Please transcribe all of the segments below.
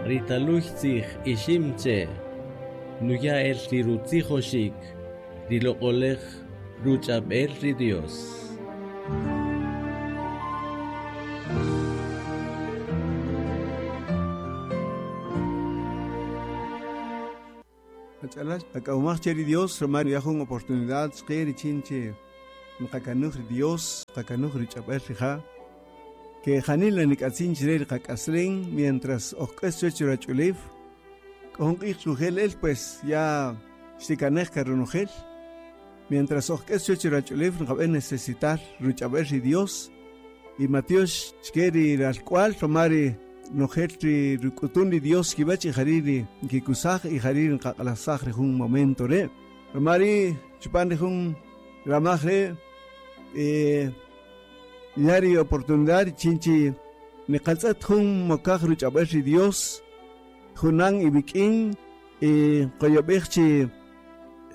Ri taluy tzij ixim che' nuya' el ri rutzijoxik ri loq'oläj ruch'ab'el ri Dios. Ach'alal, ak'awmaj che ri Dios ruma nuya' jun oportunidad chqe richin che nqakanuj ri Dios, nqakanuj ri ch'ab'äl rija', ke janila nik'atzin chre ri qak'aslen mientras oj k'äs chuwäch ri ruwach'ulew, k'o jun q'ij xujel el pues ya xtikanej ka ronojel, mientras oj k'äs chuwäch ri ruwach'ulew nqab'än necesitar ruch'ab'äl ri Dios y matyox chke ri ralk'wal ruma ri nojel ri ruk'utun ri Dios kiwäch y jari' ri nkikusaj y jari' ri nqaq'alajsaj ri jun momento re'. Ruma ri' chupan ri jun ramaj re' ya ri oportunidad richin chi niqatz'ët jun mokaj ruch'ab'äl ri Dios junan iwik'in y nqoyob'ej chi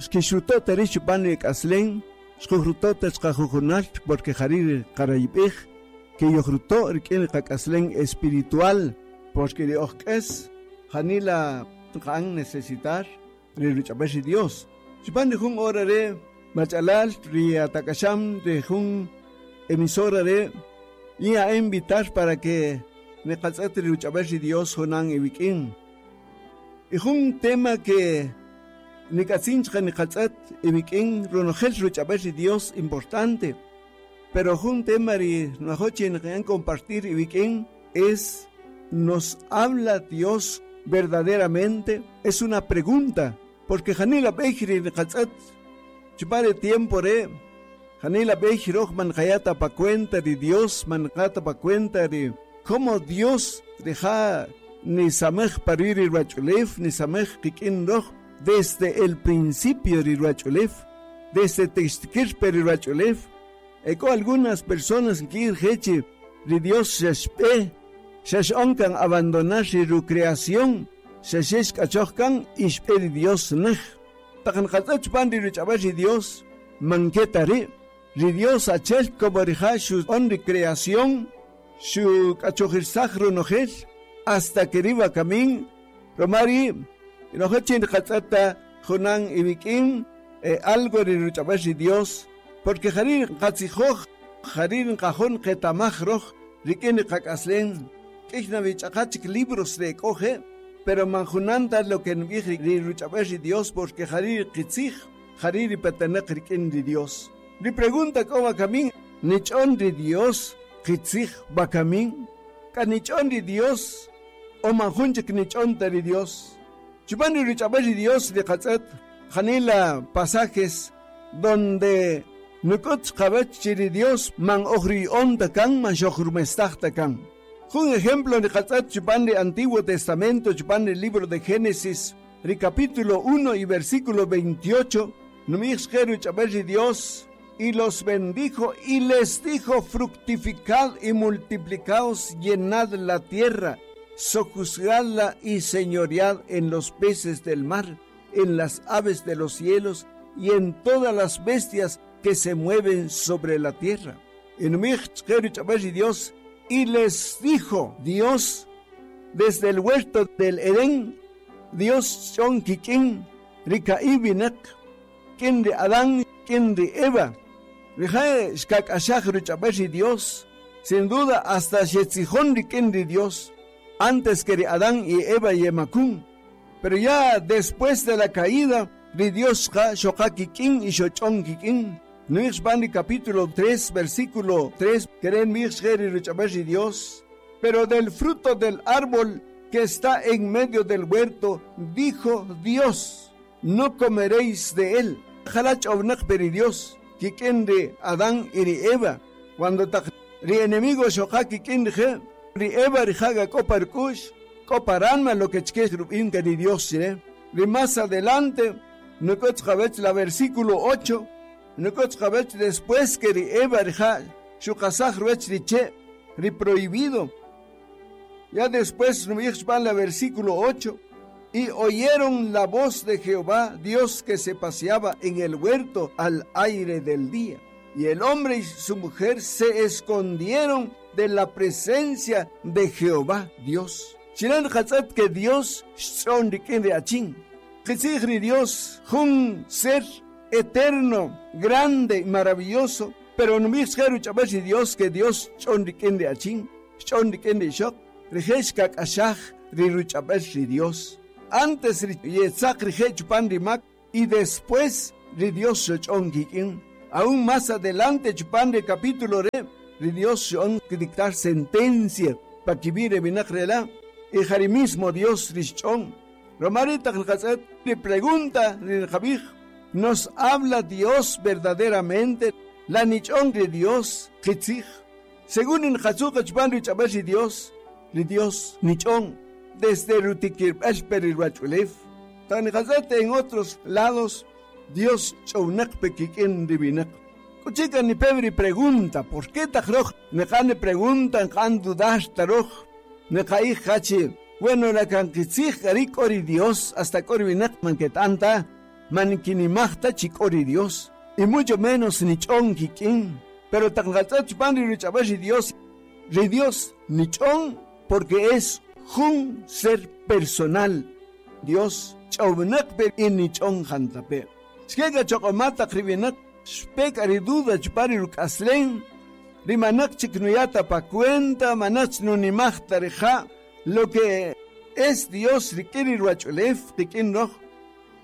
xkixruto' ta rix chupan ri k'aslen, xkojruto' ta chqajujunal porque jari' ri qarayib'ej ke yojruto' rik'in ri qak'aslen espiritual, porque ri oj k'äs janila nqa'än necesitar ri ruch'ab'äl ri Dios. Chupan ri jun hora re' mach'alal ri atak'axam ri jun emisora re' yin invitar para que niqatz'ët ri ruch'ab'äl ri Dios junan iwik'in. Y jun tema que nik'atzin chqa niqatz'ët iwik'in ronojel ruch'ab'äl ri Dios importante, pero jun tema ri nwajo' chi niqa'än compartir iwik'in es ¿nos habla Dios verdaderamente? Es una pregunta, porque janila b'ey ri niqatz'ët chupan ri tiempo re' janila b'ey röj man nqaya' ta pa cuenta ri Dios, man nqa ta pa cuenta ri cómo Dios rija' nisamej pa ruwi' ri ruwach'ulew, nisamej qik'in röj desde el principio ri ruwach'ulew, desde textikïr pe ri ruwach'ulew. E k'o algunas personas nki'ij rije' chi ri Dios xa xb'e, xa x'on kan abandonar ri rucreación, xa xe xk'achoj kan y xb'e ri Dios näj. Taq nqatz'ët chupan ri ruch'ab'äl ri Dios, man ke ta ri'. Ri Dios achi'el como rija' xu'on ri creación, xuk'achojirsaj ronojel hasta que ri wakamin, ruma ri' nojel chi nqatz'ët ta junan iwik'in algo ri ruch'ab'äl ri Dios, porque jari' nqatzijoj, jari' nqajo' nqetamaj röj rik'in ri qak'aslen. K'ïy na wi ch'aqa chik libros ri e k'o je', pero man junan ta lo que nub'ij ri ruch'ab'äl ri Dios, porque jari' ri qitzij, jari' ri petenäq rik'in ri Dios. Ri pregunta k'o wakamin, nich'on ri Dios qitzij wakamin? K'a nich'on ri Dios o man jun chik nich'on ta ri Dios? Chupan ri ruch'ab'äl ri Dios ri qatz'ët janila pasajes donde nuk'üt chqawäch chi ri Dios man oj ruya'on ta kan, man xojrumestaj ta kan. Jun ejemplo ri qatz'ët chupan ri Antiguo Testamento, chupan ri libro de Génesis, ri capítulo 1 y versículo 28, nub'ij chqe ruch'ab'äl ri Dios, y los bendijo y les dijo, fructificad y multiplicaos, llenad la tierra, sojuzgadla y señoread en los peces del mar, en las aves de los cielos y en todas las bestias que se mueven sobre la tierra. Y nub'ij chqe ruch'ab'äl ri Dios, y les dijo Dios, desde el huerto del Edén, Dios xch'on kik'in ri ka'i' winäq, k'in ri Adán, k'in ri Eva. Rije' xkak'axaj ruch'ab'äl ri Dios, sin duda hasta xetzijon rik'in ri Dios, antes que ri Adán y Eva yemakun. Pero ya después de la caída, ri Dios xqa xoqa kik'in y xoch'on kik'in. Nu'ij chupan ri capítulo 3, versículo 3, kere' nb'ij chqe ri ruch'ab'äl ri Dios, pero del fruto del árbol que está en medio del huerto, dijo Dios, no comeréis de él. Jala ch'ownäq pe ri Dios kik'in ri Adán y ri Eva. Cuando taq ri enemigo xoqa kik'in rije', ri Eva rija' ga k'o pa ruk'u'x, k'o pa ranma lo que chke rub'in ka ri Dios chire. Ri más adelante, nuk'üt chqawäch la versículo 8, nuk'üt chqawäch después que ri Eva rija' xuqasaj ruwäch ri che' ri prohibido. Ya después nub'ij chupan la versículo 8, y oyeron la voz de Jehová, Dios que se paseaba en el huerto al aire del día. Y el hombre y su mujer se escondieron de la presencia de Jehová Dios. Chiren qatz'et que Dios xch'on rik'in ri achin. Qitzij ri Dios jun ser eterno, grande y maravilloso, pero nub'ij chqe ruch'ab'al ri Dios que Dios xch'on rik'in ri achin, xch'on rik'in ri ixoq, rije' xkak'axaj ri ruch'ab'al ri Dios. Antes ri yetzaq rije' chupan ri mak y después ri Dios xoch'on kik'in. Aún más adelante chupan ri capítulo re, ri Dios xo'on dictar sentencia pa kib'i' ri winaq rela y ja ri mismo Dios ri xch'on. Romari taq nqatz'et ri pregunta ri nqab'ij, ¿nos habla Dios verdaderamente? La nich'on ri Dios qitzij. Según nqatzu' qa chupan ruch'ab'al ri Dios, ri Dios nich'on desde rutikirb'al pe ri ruwach'ulew. Taq nqatz'et en otros lados, Dios ch'ownaq pe kik'in ri winaq. K'uchika nipe ri pregunta, ¿por qué taq roj niqan ri pregunta nqa'an dudar ta roj? Niqa'ij qachi, bueno, la kan qitzij k'a ri k'o ri Dios, hasta k'o ri winaq man keta'an ta, man kinimaj ta chi k'o ri Dios. Y mucho menos nich'on kik'in. Pero taq nqatz'et chupan ri ruch'ab'al ri Dios nich'on porque es jun ser personal. Dios ch'ownaq pe y nich'on jantape. Xkeka choq'oma taq ri winaq xpek ri duda chupan ri ruk'aslen, ri manaq chik nuyata pa cuenta, manaq nunimaj ta rija', lo que es Dios rik'in ri ruwach'ulew rik'in roj,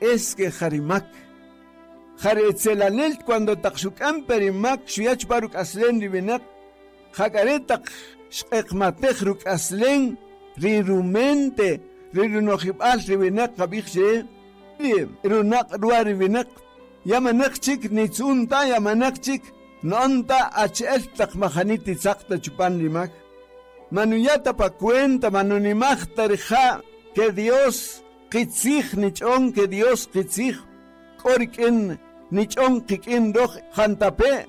es que jarimak. Jari etzelanel cuando taq xuk'an pe ri mak xuya' chupan ruk'aslen ri winaq, jak'are taq xq'eqmatej ruk'aslen ri rumente, ri runojib'al ri winaq qab'ij che, ri runaq' ruwa ri winaq, ya manaq chik nitz'un ta, ya manaq chik no'on ta achi'el taq majani titzaq ta chupan ri mak. Manuyata pa cuenta, manunimaj ta rija' que Dios qitzij nich'on, que Dios qitzij k'o rik'in nich'on qik'in roj jantape.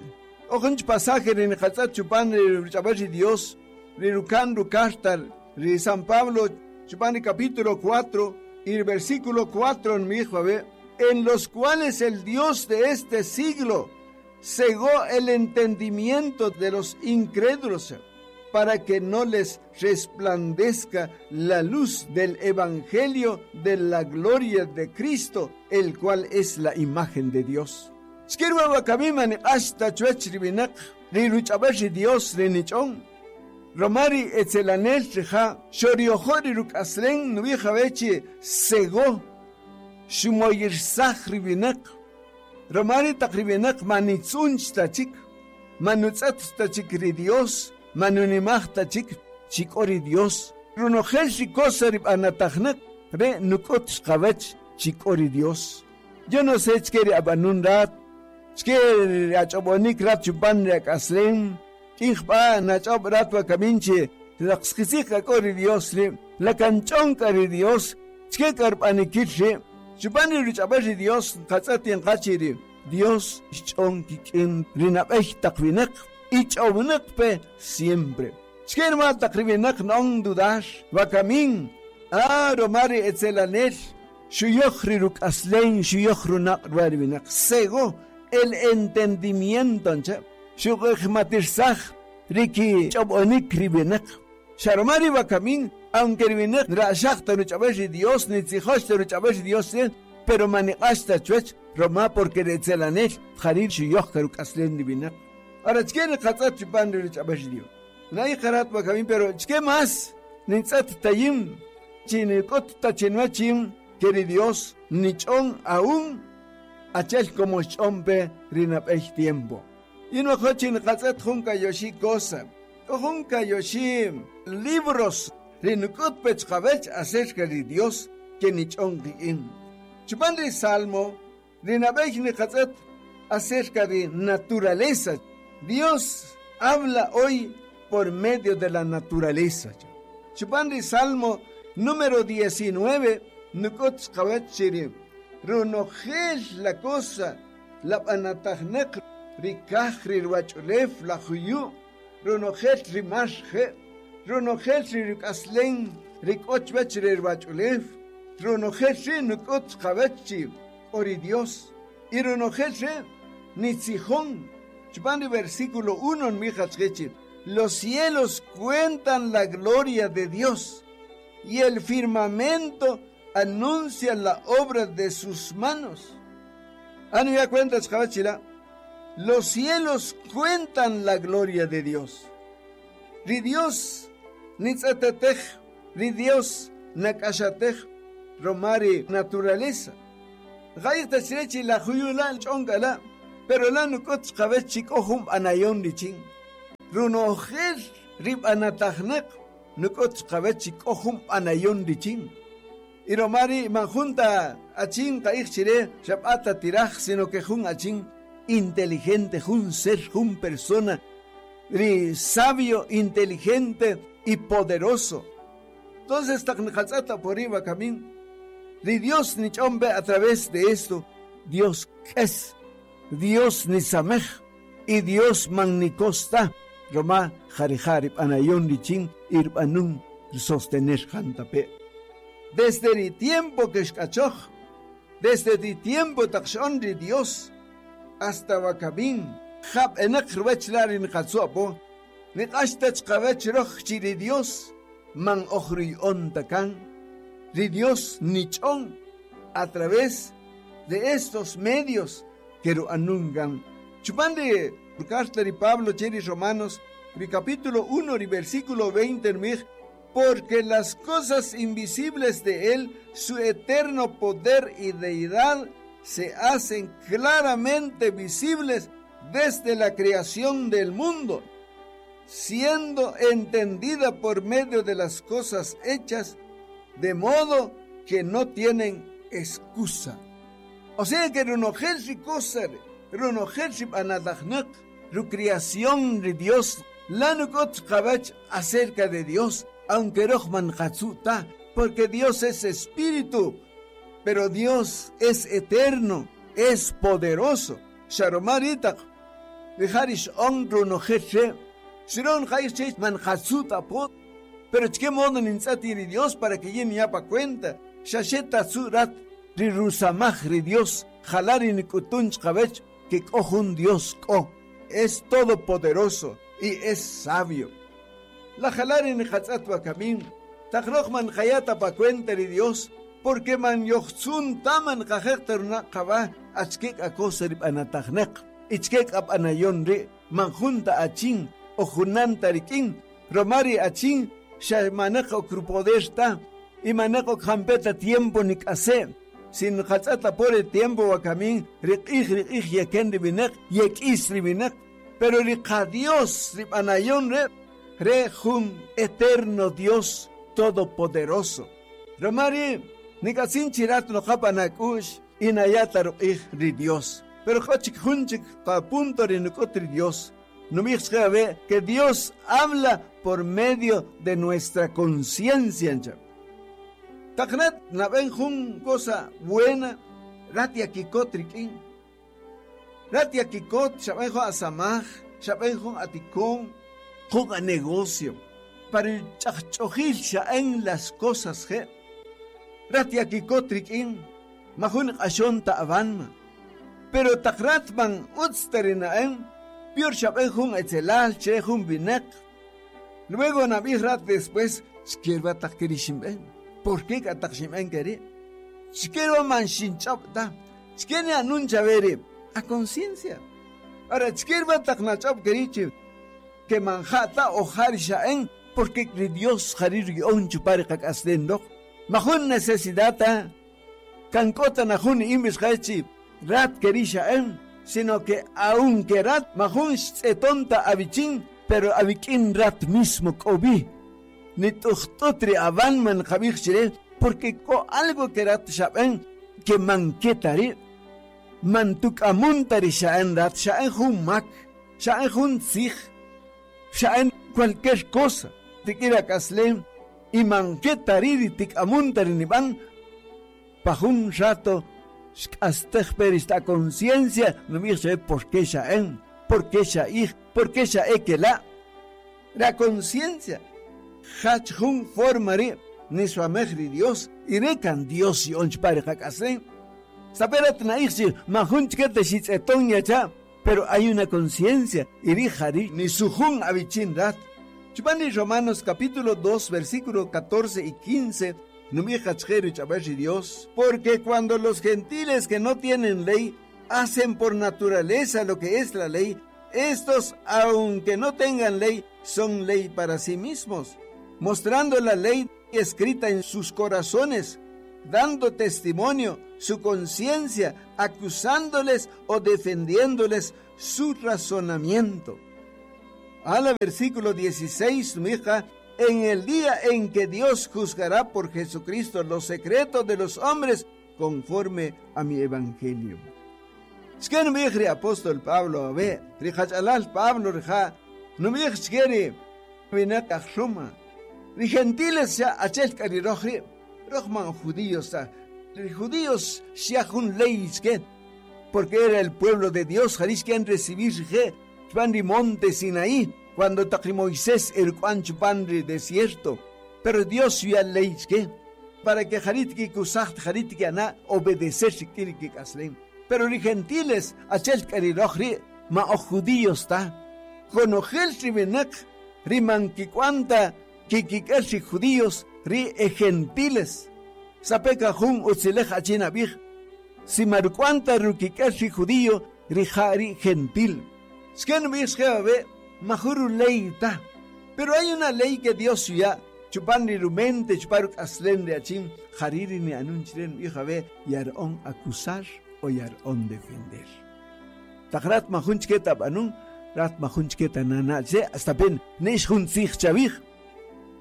Ojunch pasaje ri niqatz'et chupan ri ruch'ab'al ri Dios, ri rukan rukarta ri San Pablo chupan ri capítulo 4 y el versículo 4 nmij wawe', en los cuales el Dios de este siglo cegó el entendimiento de los incrédulos para que no les resplandezca la luz del evangelio de la gloria de Cristo, el cual es la imagen de Dios. Xkirwa wakamima niq'ax ta chuwach ri winaq, ri ruch'ab'al ri Dios ri nich'on. Romari etzelanel rija' xoriojo' ri ruk'aslen nub'ij awechi cegó, xumoyirsaj ri winaq. Romari taq ri winaq manitz'unch ta chik, manutz'et ta chik ri Dios, manunimaj ta chik chik'o ri Dios. Ronojel ri cosa ri b'anatajnaq re nuk'ut xqawach chik'o ri Dios. Yo no sé chke ri ab'anun rat, chke ri ach'ob'onik rat chupan ri ak'aslen, k'ij b'a nach'ob' rat wakamin chi laqsqitzij k'o ri Dios ri, la kanch'on k'a ri Dios, chke k'a rb'anikil ri, chupan ri ruch'ab'al ri Dios nqatz'et inqachi ri Dios xch'on kik'in ri nab'ey taq winaq y ch'ownaq pe siempre. Chke rma taq ri winaq n'on dudar, wakamin, romari etzelanel, xuyoj ri ruk'aslen, xuyoj runaq' ruwa ri winaq, cegó el entendimiento, ncha, xuq'ejmatirsaj riki ch'ob'onik ri winaq. Xaromari wakamin, aunque ri winaq ra'xaj ta ruch'ab'al ri Dios, nitzijox ta ruch'ab'al ri Dios, pero maniq'ax ta chuwach, roma porque ri etzelanel jarir xuyoj ka ruk'aslen ri winaq. Ahora, chke niqatz'et chupan ri ruch'ab'al ri Dios. Nay qarat wakamin, pero chke más nintz'et tayim, chi nik'ut ta chinwachim, que ri Dios nich'on aún achel como xch'on pe ri nab'ey tiempo. Y no jochi niqatz'et jun kayoxi cosa, jun kayoxi libros ri nuk'ut pe chqawech acerca ri Dios que nich'on kik'in. Chupan ri Salmo, ri nab'ey niqatz'et acerca de naturaleza. Dios habla hoy por medio de la naturaleza. Chupan ri Salmo número 19, nuk'ut chqawach chiri, ronojel la cosa, la b'anatajnaq, ri kaj, ri ruwach'ulew, la juyu', ronojel ri mar je', ronojel ri ruk'aslen, ri k'o chuwach ri ruwach'ulew, ronojel ri nuk'ut chqawach chi k'o ri Dios, y ronojel ri nitzijon. Chupan ri versículo 1 nmij achqechi, los cielos cuentan la gloria de Dios. Y el firmamento anuncia la obra de sus manos. Anu ya cuentas, Jabachila. Los cielos cuentan la gloria de Dios. Ri Dios nitzatetej, ri Dios nakashatej, romari naturaleza. Gayta chirechi la juyula chongala, pero la nukot chabechik ojum anayon richin. Runojel rib anatajnek, nukot chabechik ojum anayon richin. Y romari manjunta achin kaij chire, shabata tiraj, sino que jun achin inteligente, jun ser, jun persona, ri sabio, inteligente y poderoso. Entonces, taknikatzata por iba camín. Ri Dios ni chombe a través de esto, Dios es, Dios ni samej y Dios magnicosta. Roma jarijarib anayon richin irbanun sostener jantape. Desde el tiempo que escachoj, desde el tiempo taxon de Dios, hasta wakabin, jab enak ruechlarin katsuapo, niqashtach qavech roj chiri Dios, man ojri ontakan, ri Dios nichon, a través de estos medios que anungan. Chupande, carta de Pablo chiri Romanos, ri capítulo 1, ri versículo 20, mij, porque las cosas invisibles de él, su eterno poder y deidad, se hacen claramente visibles desde la creación del mundo, siendo entendida por medio de las cosas hechas, de modo que no tienen excusa. O sea que runojelsi cosa, runojelsi anadajnak, ru creación de Dios, lanukot kabach acerca de Dios, aunque rohman katsuta, porque Dios es espíritu, pero Dios es eterno, es poderoso. Sharomaritak, Viharish on runojelse, Shiron jaish man katsuta pot, pero chke modo nintzati ri Dios para que yin yapa cuenta, shasheta tzurat ri rusamaj ri Dios, jalari nikutunch kabech, que un Dios ko, es todopoderoso y es sabio. La jalari ni hatzatwa kamin, takroch man jayata pa cuenta ri Dios, porque man yochtzun taman kajekter na kaba, achkek akosa rib anatajnek, ichkek ap anayon ri, man junta achin, o junanta rikin, romari achin, xamanek okrupoderta, y manek okjampeta tiempo nikase, sin hatzata por el tiempo wakamin, riqij riqij yeken ribinek, yekis ribinek, pero riqa Dios rib anayon re, re jun eterno Dios todopoderoso. Romari, nikasin chirat no japanakush, inayata ruqij ri Dios. Pero jochik junchik pa punto ri nukotri Dios. No me que Dios habla por medio de nuestra conciencia. Taknet naben jun cosa buena, ratia kikot rikin. Ratia kikot, shaben jun asamaj, shaben jun atikon, jun a negocio. Para el chachojil shaen las cosas je. Ratia kikot rikin, majun ashon ta'avanma. Pero takrat man utstarinaen, pior shaben jun etzelal, che jun binek. Luego nabih rat después, shkirba takirishimben. ¿Por qué katakshimben keri? Shkirba man shinchop da. Shkene anuncia veri. A conciencia. Ahora, shkirba taknachop kerichi. Que manjata o harishaen, porque Dios harir yon chupari kakasdendok. Majun necesidad, kankota najun imbis hachi, rat kerishaen, sino que aunque rat majun tonta abichin, pero abikin rat mismo kobi. Ni tuchtutri avan man jabich porque ko algo que rat shaben, que manquetari, mantuk amuntari shaen rat, shaen jun mak, shaen jun tzij, shaen cualquier cosa, tikira kaslem, y manquetari tik amuntari niban, pajun rato, xk'astej per esta conciencia, no me sé por qué shaen, por qué shaij, por qué shaekela. La conciencia, hach jun formari, ni su amejri Dios, y recan Dios y onchpare jakasen. Saperat naixi, majun chkete shitzeton yacha, pero hay una conciencia, y rijari, ni su jun abichin rat. Chupani Romanos capítulo 2, versículo 14 y 15, Dios, porque cuando los gentiles que no tienen ley hacen por naturaleza lo que es la ley, estos, aunque no tengan ley, son ley para sí mismos, mostrando la ley escrita en sus corazones, dando testimonio su conciencia, acusándoles o defendiéndoles su razonamiento. A la versículo 16, mija, en el día en que Dios juzgará por Jesucristo los secretos de los hombres conforme a mi evangelio. Xken mi apóstol Pablo, a ver, Pablo, rija, no mi xkeri, winaq aj Roma. Ri gentiles ya achel karirojri, rojman judíos, ri judíos xya jun ley porque era el pueblo de Dios, jarish que recibir je, chupan monte Sinaí, cuando taqri Moisés el cuan chupan desierto, pero Dios ya ley que para que jarit ki kusacht jarit ki ana obedecer shikiri ki kaslem. Pero ri gentiles achel karirojri, ma o judíos ta, konojel ribenak, riman kikwanta kikikel ri judíos ri e gentiles. Sapeka jun utzilej achina bij, si marcuanta rukikel ri judío ri jari gentil. Sken be majuru ley ta. Pero hay una ley que Dios ya chupan ri rumente chuparuk aslen de achim jariri ni anunchiren hija be yarón acusar o yarón defender. Takrat mahunchketa banun rat mahunchketa nana che hasta pen nish juntzij chavij.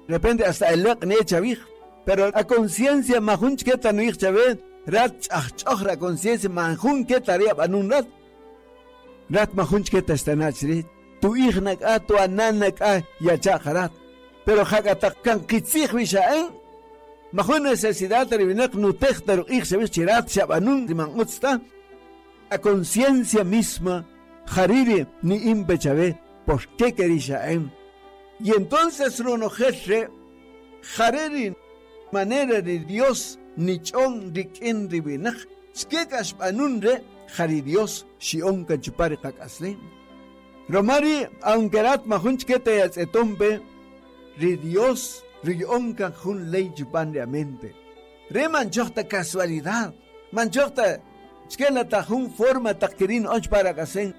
Repente hasta el ne chavij. Pero a conciencia mahunchketa no chave rat chach conciencia mahunchketa ria banun rat. Rat mahunchketa estanachri tu hija a tu ananak a yachajarat. Pero jakatak kitzij bishaen mahun necesidad ribinak nutej taru ij chavij chirat shabanun riman utsta. A conciencia misma jariri ni impechavé por qué querishaen. Y entonces runojerre jariri manera de Dios ni chon rikin ribinak skekash banunre jari Dios shion kachupari kakasle. Romari aunque rat mahunchkete yatzetompe ri Dios rionka jun ley chupan de amente. Re manchohta casualidad, manchohta chkela tajun forma takirin och para kasen.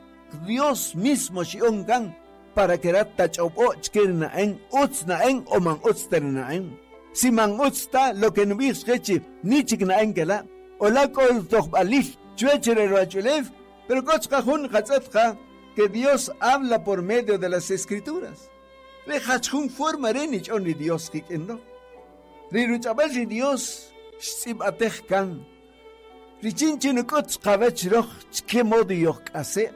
Dios mismo shionkan para que rat tachopo chkirna en utzna en o man utzterna en. Si man utzta lo que nubis gechi ni chikna en kela o la kol tohbalil chuechere roachulev, pero kochka jun katzetka que Dios habla por medio de las escrituras. Le hachun forma renich onri Dios kikendo. Riruchabel ri Dios xtzib kan. Richinchin kotz kavech roch chke modo yok ase.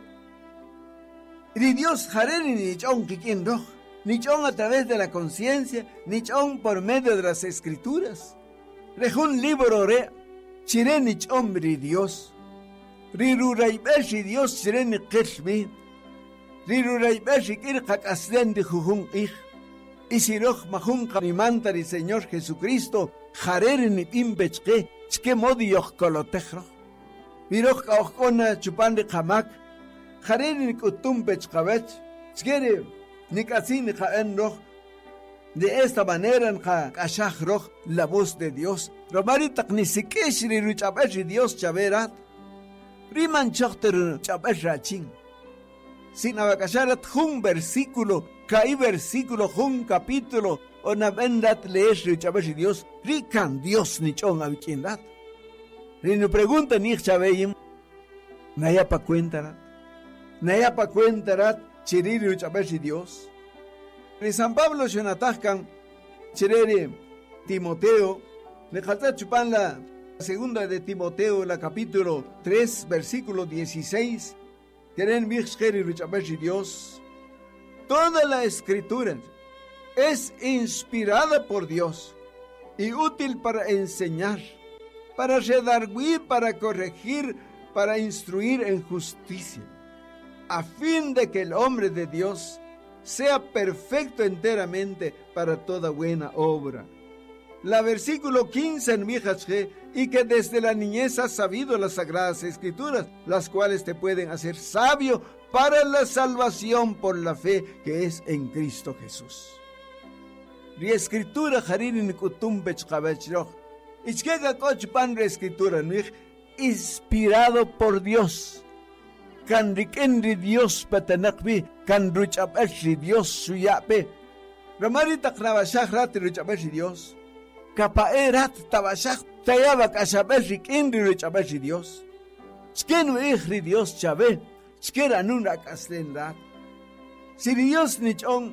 Ri Dios jareri nich on kikin roch. Nich on a través de la conciencia, nich on por medio de las escrituras. Rejun libro re chire nich on ri Dios. Riruraibel ri Dios chire ni qilmi. Riruraibel ri kirqak aslen di jujun ij. Isiroj majun qamimanta ri Señor Jesucristo jareri ni imbechke chke modi yoh kolotejro. Viroj kaojkona chupan ri qamak. Jareri ni kutumpech qawech. Chkere ni katzin ni jaen roj. De esta manera nja kashaj roj la voz de Dios. Romari taqnisikish ri ruchabel ri Dios chaverat. Riman chochter chabel rachin. Sin abakasharat jun versículo, kai versículo, jun capítulo, o nabendat leer ri chabel ri Dios, rikan Dios ni chon abikindat. Ri no pregunta ni chabeyim, naya pa cuenta rat. Naya pa cuenta rat, chiriri ruchabel ri Dios. Ri San Pablo shonatajkan, chireri Timoteo, le jalta chupan la segunda de Timoteo, la capítulo 3, versículo 16, Queren Dios. Toda la escritura es inspirada por Dios y útil para enseñar, para redarguir, para corregir, para instruir en justicia, a fin de que el hombre de Dios sea perfecto enteramente para toda buena obra. La versículo 15 en Mijasje, y que desde la niñez has sabido las sagradas escrituras, las cuales te pueden hacer sabio para la salvación por la fe que es en Cristo Jesús. Ri escritura jari' ri nik'utun pe chiqawech röj. Y chike k'a k'o chupan ri escritura nu'ij inspirado por Dios. Kan rik'in ri Dios petenäq wi, kan ruch'ab'äl ri Dios xuya' pe. Ruma ri' taq nawaxaj rat ri ruch'ab'äl ri Dios, kapa'e' rat tawaxaj taya' wak'axab'äl rik'in ri ruch'ab'äl ri Dios. Chike nu'ij ri Dios chawe, chike ranun rak'aslen rat. Si ri Dios nich'on.